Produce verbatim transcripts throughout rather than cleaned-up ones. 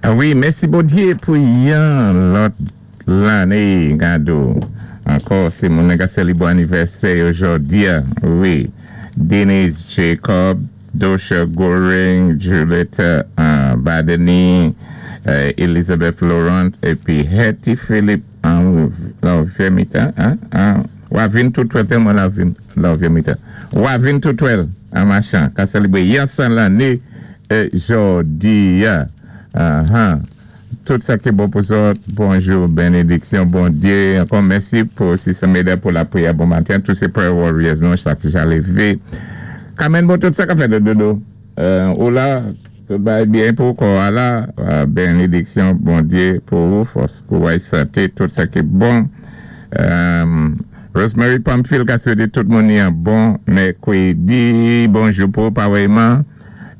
Wi, mèsi Bondyé pou yon lòt lanné gado. Ankò, sé moun ki sélébwé anivèsè jòdi. Wi. Denise Jacob, Dosha Goring, Juliette euh, Badeni, euh, Elizabeth Laurent, épi Hetty Philippe, an Vemita, hein, hein, Wavin Toutwell, tèlman Lavin, Lavemita. Wavin Toutwell, an machan, ka sélébwé yon san lanné euh, jòdi. Uh-huh. Tout sa ki bon pou zòt, bonjou, bénédiksyon, Bondyé. Ankò mèsi pou Sister Meda pou lapriyè bon maten. Tout sé prayer warriors, nou, chak ja lévé. Kamen bon, tout sa ka fèt dodo. Euh, ou la, tout bagay byen pou kò la, euh, bénédiksyon, Bondyé pou ou, fòs, kouway, santé, tout sa ki bon. Euh, Rosemary Pamphile ka swété tout moun yon bon mèkwédi. Bonjou pou parèyman.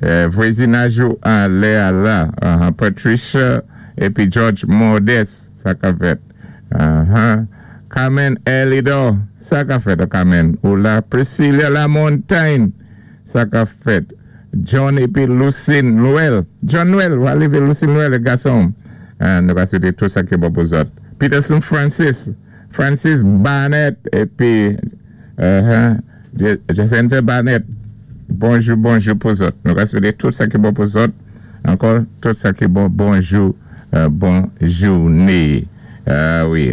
Euh, vwazinaj an lè a la. Uh, Patricia épi George Modeste, sa ka fèt. Uh-huh. Carmen Elidor, sa ka fèt, Carmen. Ou la Priscilla La Montagne, sa ka fèt. John épi Lucine Noël. John Noël, wa lévé Lucine Noël, gason. Euh, nou ka swété tout sa ki bon pou zòt. Peterson Francis, Francis Barnett, épi uh-huh, Jacinta Barnett. Bonjou, bonjou pou zòt. Nou ka swété tout sa ki bon pou zòt. Ankò, tout sa ki bon, bonjou, euh, bon jouné. Euh, wi.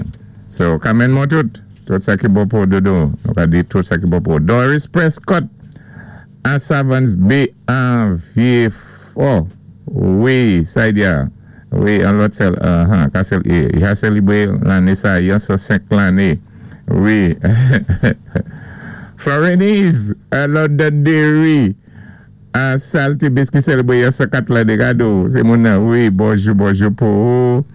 So, Carmen mon tout, tout sa ki bon pou dodo. Nou ka di tout sa ki bon pou Doris Prescott, an Savans Bay, an Vieux-Fort. Wi, sa y di a. Wi, an lòt sèl, uh-huh, ka sèl, i a sélébwé lanné sa, yon san senk lanné. Wi. Florenise, à Londonderry, an Saltibus ki sélébwé yon san kat lanné gado. Sé moun nan, wi, bonjou, bonjou pou ou.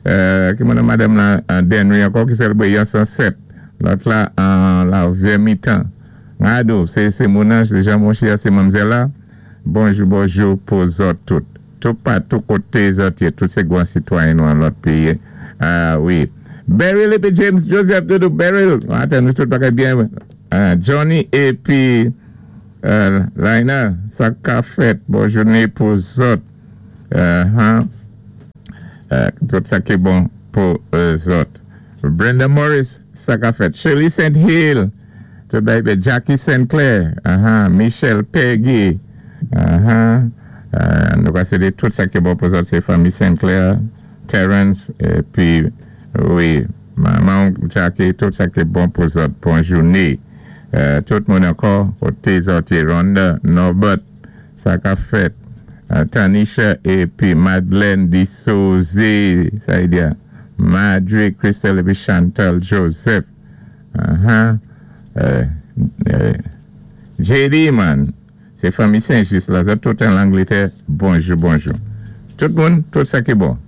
Euh, ki moun nan madanm la, an Denry ankò ki sélébwé yon san sèt. Lòt la, an la Vieux Mitan. Gado, sé, sé moun nan, sé Jean Monchia, sé manmzèl la. Bonjou, bonjou pou zòt tout. Tout pa, tout koté zòt yé, tout sé gwan sitwayen nou an lòt péyi. Ah, wi. Beryl épi James Joseph Doudou, Beryl. Atan, nou tout bagay byen. Ah, Johnny épi euh, Laina, sa ka fèt. Bon jouné pou zòt. Uh-huh. Euh, tout sa ki bon pou euh, zòt. Brenda Morris, sa ka fèt. Shirley Saint Hill, tout bagay byen. Jackie Sinclair, uh-huh. Michelle Peggy, uh-huh. Euh, nou ka swété tout sa ki bon pou zòt, sé fanmi Sinclair, Terence, épi, wi, manman Jackie, tout sa ki bon pou zòt, bon jouné. Euh, tout moun ankò, koté zòt, Rhonda, Norbert, sa ka fèt. Euh, Tanisha épi Madeleine Dissozé, sa y di a. Madre Christelle épi Chantal Joseph. Uh-huh. Euh, euh, J D man, sé fanmi Saint-Just la, zòt tout an Langlétè, bonjou, bonjou. Tout moun, tout sa ki bon.